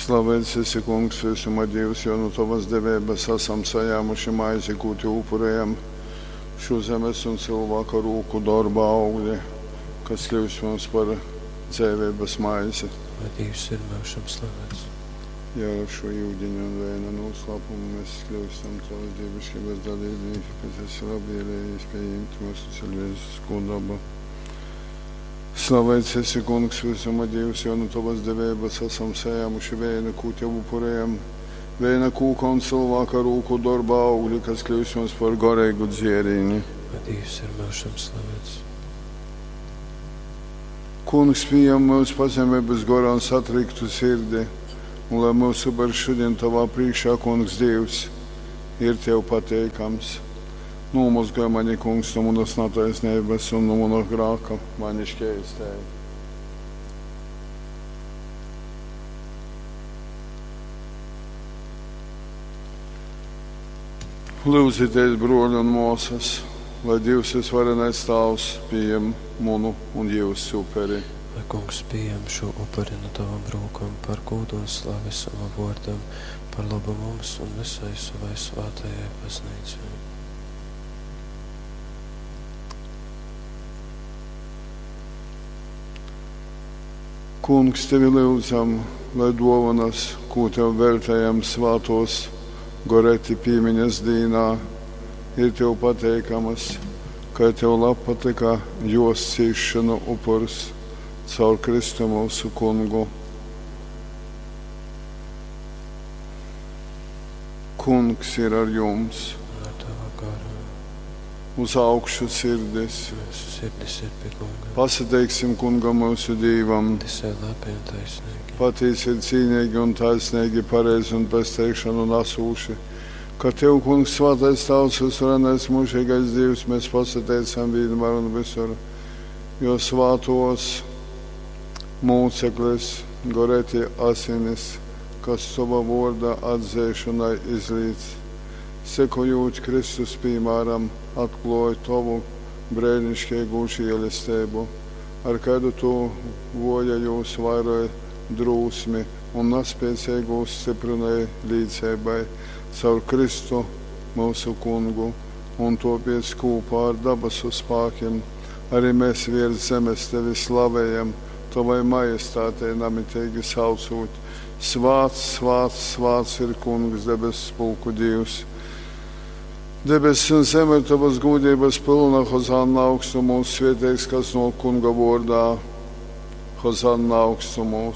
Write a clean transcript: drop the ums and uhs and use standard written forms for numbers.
Slaveits esi, Kungs, vysuma Dīvs, jo nu tovas deveibas asam sajāmuši maizi, kū tev upurējam, šo zemes un cylvāka rūku dorba augli, kas kļūst mums par dzeiveibas maizi. Lai Dīvs ir myužam slaveits. Ja ar šo yudiņa un vēna noslēpumu mēs kļūstam tavas dievišķības dalībnieki, kas esi labvēlējies pieņemt mūsu cilvēcisko dabu. Slaveits esi, Kungs, visuma Dievs, jo nu tavas deveibas esam sajāmuši vēna, kū tev upurējam, vēna kūka un cilvēka rūku darba augļi, kas kļūst mums par garīgu dzērīni. Lai Dievs ir myužam slaveits. Kungs, pieņem mūsu pazemības gorā un satriktu sirdi, un lai mūsu upurs šodien tavā priekšā, Kungs, Dievs, ir tev pateikams. Nomazgāj mani, Kungs, no manas netaisnības un no mana grāka, mani šķēstēji. Lūdzieties, broļi un māsas, lai Dievs visvarenais Tēvs pieņem manu un jūsu uperi. Lai Kungs pieņem šo upuri no tavām rokām par godu un slavi savam vārdam, par labu mums un visai savai svētajai baznīcai. Kungs, tevi lūdzam, lai dovanas, ko tev veltējam svātos Goreti pīmiņas dīnā, ir tev pateikamas, ka tev labpatika jos cīšanu upurs caur Kristu mūsu kungu. Kungs ir ar jums, Un ar tavu garu. uz augšu sirdis. Mūsu sirdis ir pie Kunga. Pasateiksim kungam mūsu Dīvam. Tas ir labi un taisnīgi. Patiesi ir cīnīgi un taisnīgi, pareizi un pesteikšanu nesūši. Ka Tev, Kungs, svētais Tavs, visvarenais mūžīgais Dievs, mēs pasateicam vienmēr un visur, jo svātos mūceklis, goreti asinis, kas Tava vorda atzēšanai izlīdz. Sekojot Kristus piemēram, atklāja Tavu brēnišķīgu žēlastību, ar kādu Tu vojajos vairoji drūsmi un nespēcīgos stiprināja līdzēbai caur Kristu mūsu kungu, un topiec kopā ar dabasu spēkiem arī mēs virs zemes tevi slavējam, tavai majestātei namitīgi saucot. Svāts, svāts, svāts ir kungs debesu pulku Dievs. Debesis un zeme ir tavas gūdības pilna, Hozanna augstumos, svētīgs, kas no kunga vārdā. Hozanna augstumos.